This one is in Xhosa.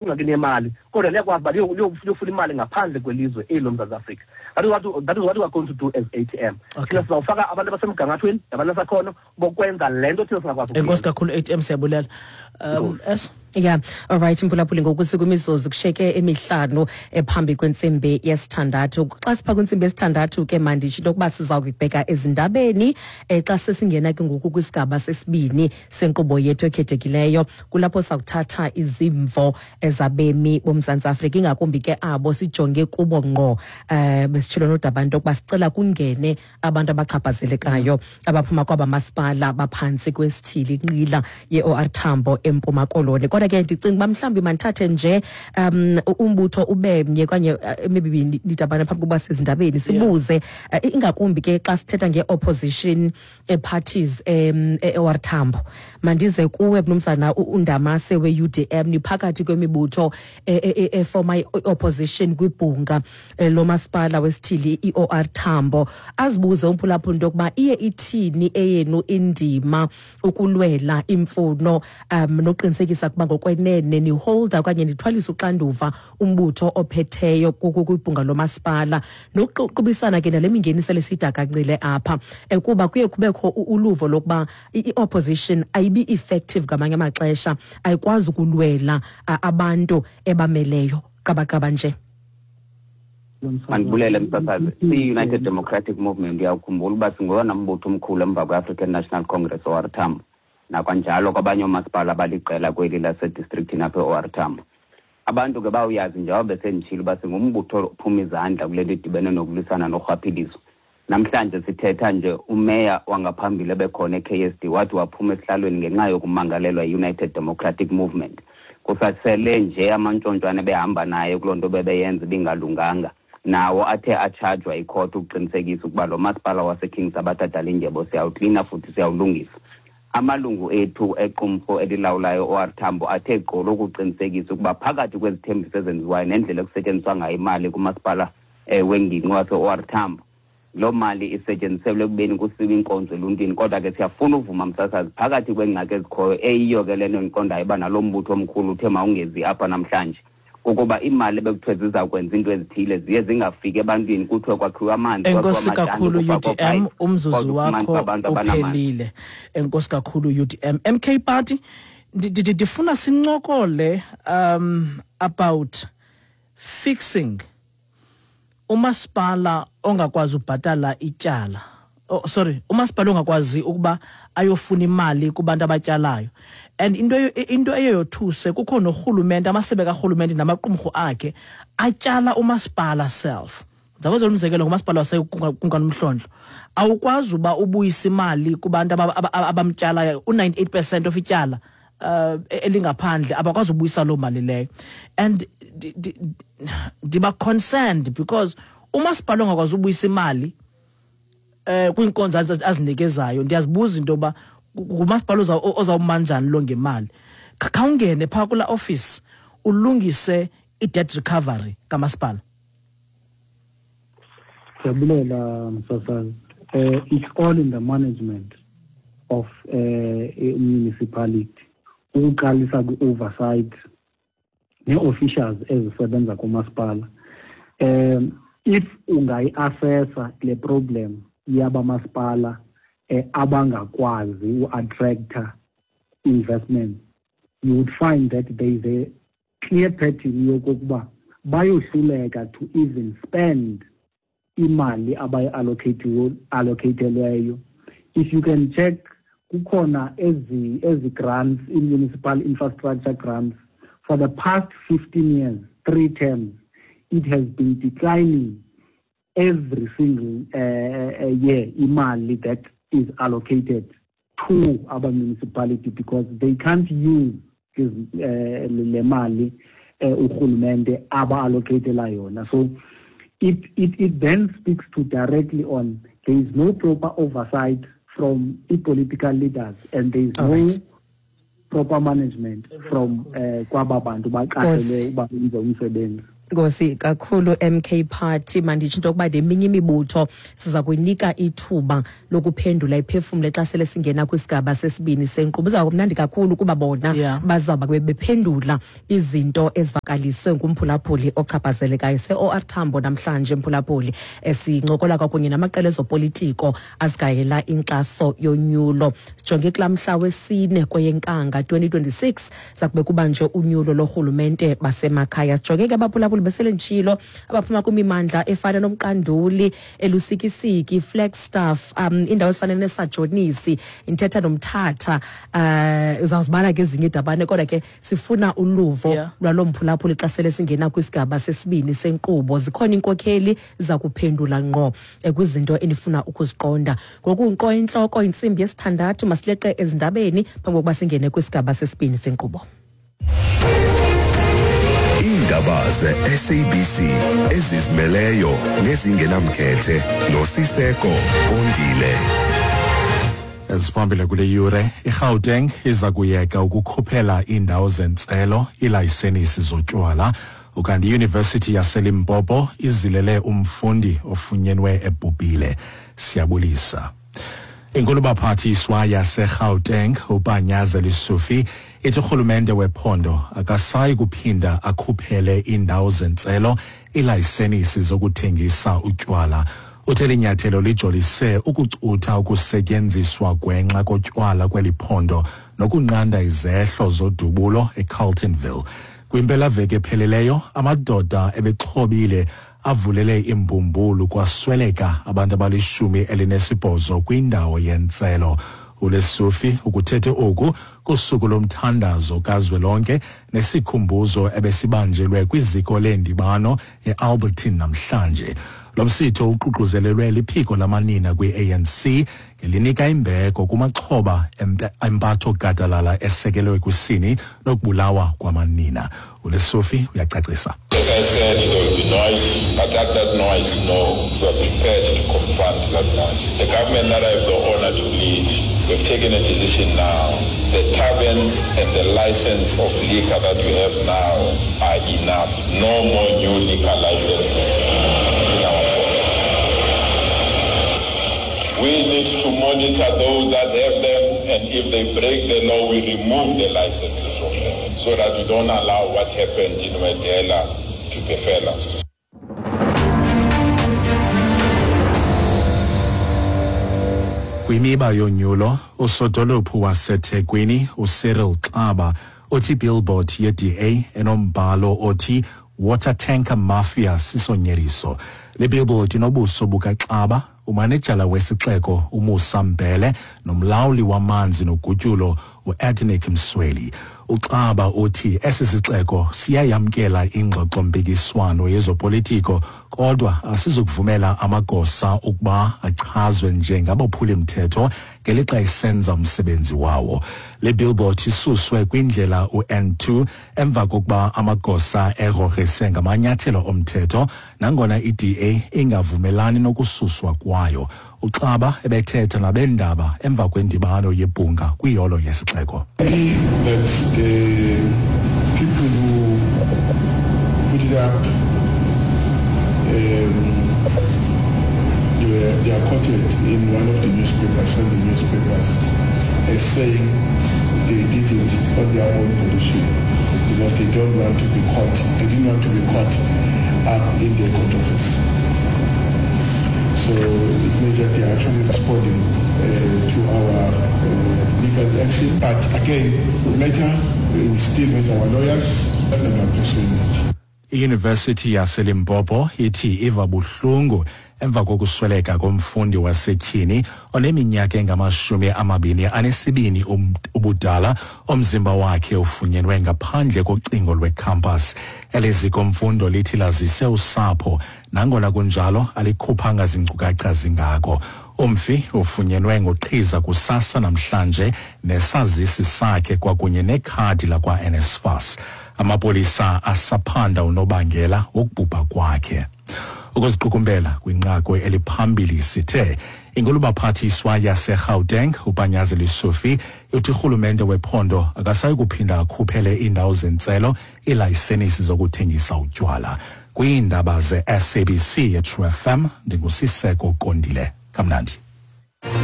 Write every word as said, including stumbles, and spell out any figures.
Ingxaki nemali, kodwa liyakwazi uba liyofuna imali ngaphandle kwelizwe eli loMzantsi Afrika. That is what, that is what we are going to do as A T M. Thina sizawufaka abantu abasemgangathweni nabanesakhono bokwenza le nto thina singakwazi. Enkosi kakhulu, A T M, siyabulela. um s Yeah, alright, mphulaphuli, ngoku sikwimizuzu kushiyeke emihlanu ephambi kwentsimbi yesithandathu. Xa sipha kwintsimbi yesithandathu ke, manditsho into yokuba siza kubheka ezindabeni. um xa sesingena ke ngoku kwisigaba sesibini senkqubo yethu ekhethekileyo, kulapho sakuthatha izimvo ezabemi boMzantsi Afrika, ingakumbi ke abo sijonge kubo ngqo. um besitshilo nodaba into yokuba sicela kungene abantu abachaphazelekayo abaphuma kwaba masipala baphantsi kwesithili inqila ye-O R Tambo eMpuma Koloni. Kodwa ke ndicinga uba mhlawumbi mandithathe nje um umbutho ube mnye okanye emibini nidabana phambi kokuba sezindabeni, sibuze uh, ingakumbi ke xa sithetha nge-opposition parties um e-O R Tambo. Mandize kuwe, mnumzana uNdamase we-U D M. Niphakathi kwemibutho efoma i-opposition kwibhunga lomasipala wesithili i-O R Tambo. Azibuze umphulaphuli into yokuba iye ithini eyenu indima ukulwela imfuno um nokuqinisekisa ukuba ngokwenene niholda okanye nithwalisa uxanduva umbutho ophetheyo kwibhunga lomasipala, nokuqubisana ke nale mingeni sele sidakancile apha, kuba kuye kubekho uluvo lokuba i-opposition ayibi effective ngamanye amaxesha, ayikwazi ukulwela abantu ebameleyo qabaqaba nje. Mandibulele, msasazi. Siyi-United Democratic Movement, uyawukhumbula uba singowona mbutho omkhulu emva kwe-African National Congress O R Tambo, nakwanjalo kwabanye oomasipala abaliqela kweli lasedistrikthini apha e-O R Tambo. Abantu ke bawuyazi njengoba besenditshilo uba singumbutho ophuma izandla kule nto idibene nokulwisana norhwaphilizo. Namhlanje sithetha nje, umeya wangaphambili ebekhona e-K S D wathi waphuma esihlalweni ngenxa yokumangalelwa yi-United Democratic Movement. Kusasele nje amantshontshwane behamba naye kuloo nto bebeyenza ibingalunganga, nawo athe atshajwa ikhotha ukuqinisekisa ukuba lo masipala waseKing Sabatha Dalindyebo siyawuklina futhi siyawulungisa. Amalungu ethu equmrhu elilawulayo O R Tambo athe gqolo ukuqinisekisa ukuba phakathi kwezithembiso ezenziwayo nendlela ekusetyenziswa ngayo imali kumasipala um wengingqi wase-O R Tambo, loo mali isetyenziselwe ekubeni kusiwe inkonzo eluntwini. Kodwa ke siyafuna uvuma, msasazi, phakathi kweengxaki ezikhoyo, eyiyo ke le nto ndiqondayo uba nalo mbutho omkhulu uthe mawungezi apha namhlanje, kukuba iimali ebekuthiwe ziza kwenza iinto ezithile ziye zingafiki ebantwini. Kuthiwe kwakhiwe amanzi, Enkosi kwakhiwe kakhulu, amatanki, kufakwa U D M. pipe, Umzuzu kodwa ufumanise wakho abantu abanamanzi. uphelile. Enkosi kakhulu, U D M. M K Party, ndi- ndi- ndifuna sincokole um about fixing umasipala ongakwazi ubhatala ityala, oh, sorry, umasipala ongakwazi ukuba ayofuna imali kubantu abatyalayo. And into into eyothuse, kukho norhulumente, amasebe karhulumente namaqumrhu akhe atyala umasipala self. Ndizawenzela umzekelo ngumasipala waseKumkani Mhlontlo. Awukwazi uba ubuyise imali kubantu aba- aba- abamtyalayo. U-ninety-eight percent of ityala uh, elingaphandle, abakwazi ubuyisa loo mali leyo. And ndi- ndi- ndiba concerned because umasipala ongakwazi ubuyisa imali eh kwiinkonzo azi- azinikezayo, ndiyazibuza into yoba ngumasipala oza- ozawuma njani lo ngemali. Kha- khawungene phaa kulaa office, ulungise i-debt recovery kamasipala. Siyabulela, msasazi. Uh, it's all in the management of uh, municipality, ukuqalisa kwi-oversight nee-officials ezisebenza kumasipala. um if ungayi-assessa le problem yabamasipala eh, abangakwazi u-attracta investment, you would find that there is a clear pattern yokokuba bayohluleka to even spend imali abayi-allocatelweyo. If you can check, kukhona ezi ezi grants, i-municipal infrastructure grants, for the past fifteen years, three terms, it has been declining every single uh, year, imali that is allocated to our municipality, because they can't use uh, le mali uh, urhulumente aba-allocatela yona. So it, it, it then speaks to directly on there is no proper oversight from the political leaders and there is All no right. proper management from uh, kwaba bantu baqashelwe uba benze umsebenzi. Nkosi kakhulu M K Party. Manditsho into yokuba neminye imibutho siza kuyinika ithuba lokuphendula iphefumle xa sele singena kwisigaba sesibini senkqubo. Iza kumnandi kakhulu kuba bona Yeah. bazawuba bephendula izinto ezivakaliswe ngumphulaphuli ochaphazelekayo. Se-O R Tambo namhlanje mphulaphuli, esincokola kwakunye namaqela ezopolitiko azigayela inkxaso yonyulo. Sijonge kulaa mhla wesine kweyeNkanga twenty twenty-six, zakube kubanjwe unyulo lorhulumente basemakhaya. Sijonge ke abaphulaphuli besele nditshilo abaphuma kwimimandla efana noMqanduli, eLusikisiki, Flagstaff, um indawo ezifana neSajonisi, Ntetha noMthatha, uh, uzawuzibala ke ezinye iidabane, kodwa ke sifuna uluvo Yeah. lwaloo mphulaphuli xa sele singena kwisigaba sesibini senkqubo. Zikhona iinkokheli ziza kuphendula ngqo, eh, kwizinto enifuna ukuziqonda. Ngoku nkqo intloko intsimbi yesithandathu, masileqe ezindabeni phambi kokuba singene kwisigaba sesibini senkqubo. Iindaba ze-S A B C ezizimeleyo nezingenamkhethe noSiseko Kondile. Eziphambili kule yure, iGauteng iza kuyeka ukukhuphela iindawo zentselo iilayisenisi zotywala. Ukanti iYunivesithi yaseLimpopo izilele umfundi ofunyenwe ebhubhile. Siyabulisa. Inkulubaphathiswa yaseGauteng uPanyaza Lesufi ithi urhulumente wephondo akasayi kuphinda akhuphele iindawo zentselo iilayisenisi zokuthengisa utywala. Uthe eli nyathelo lijolise ukucutha ukusetyenziswa gwenxa kotywala kweli phondo nokunqanda izehlo zodubulo eCarltonville. Kwimpelaveki ephelileyo, amadoda ebexhobile avulele imbumbulu kwasweleka abantu abalishumi elinesibhozo kwindawo yentselo. uLesufi ukuthethe oku kusuku lomthandazo kazwelonke nesikhumbuzo ebesibanjelwe kwiziko leendibano eAlbertine namhlanje. Lo msitho uququzelelwe liphiko lamanina kwi-A N C ngelinika imbeko kumaxhoba empatho gadalala esekelwe kwisini nokubulawa kwamanina. uLesufi uyacacisa. As I said, there will be noise, but let that noise know we are prepared to confront that noise. The government that I have the honor to lead, we've taken a decision now. The taverns and the license of liquor that we have now are enough. No more new liquor licenses in our province. We need to monitor those that have them, and if they break the law, we remove the licenses from them, so that we don't allow what happened in Wedela to befell us. Kwimiba yonyulo, usodolophu waseThekwini uCyril Xaba uthi billboard ye-D A enombhalo othi Water Tanker Mafia sisonyeliso. Le billboard inobuso bukaXaba, umanejala wesixeko uMusa Mbele nomlawuli wamanzi nogutyulo uEdnick Msweli. uXaba uthi esi sixeko siyayamkela ingxoxo-mpikiswano yezopolitiko, kodwa asizukuvumela amagosa ukuba achazwe njengabophuli-mthetho ngelixa isenza umsebenzi wawo. Le billboard isuswe kwindlela u-N two emva kokuba amagosa egrogrise ngamanyathelo omthetho, nangona i-D A ingavumelani nokususwa kwayo. uXaba ebethetha nabendaba emva kwendibano yebhunga kwiholo yesixeko. That the people who put it up, um, they, were, they are quoted in one of the newspapers, Sunday newspapers, as saying they did it on their own volition because they don't want to be caught. They didn't want to be caught up in their controversy. So it means that they are actually responding uh, to our uh, legal action. But again, later we still with our lawyers and are pursuing it. IYunivesithi yaseLimpopo ithi iva buhlungu emva kokusweleka komfundi wasetyhini oneminyaka engamashumi amabini anesibini ubudala, omzimba wakhe ufunyenwe ngaphandle kocingo lwecampus. Eli ziko mfundo lithi lazise usapho, nangona kunjalo alikhuphanga zinkcukacha zingako. Umfi ufunyenwe ngoqhiza kusasa namhlanje nesazisi sakhe kwakunye nekhadi lakwa-N S F A S. Amapolisa asaphanda unobangela wokubhubha kwakhe. Ukuziqukumbela kwinqaku eliphambili sithe inkulubaphathiswa yaseGauteng uPanyaza Lesufi uthi urhulumente wephondo akasayi kuphinda akhuphele iindawo zentselo iilayisenisi zokuthengisa utywala. Kwiindaba ze-S A B C ye-True F M, ndinguSiseko Kondile. Kamnandi.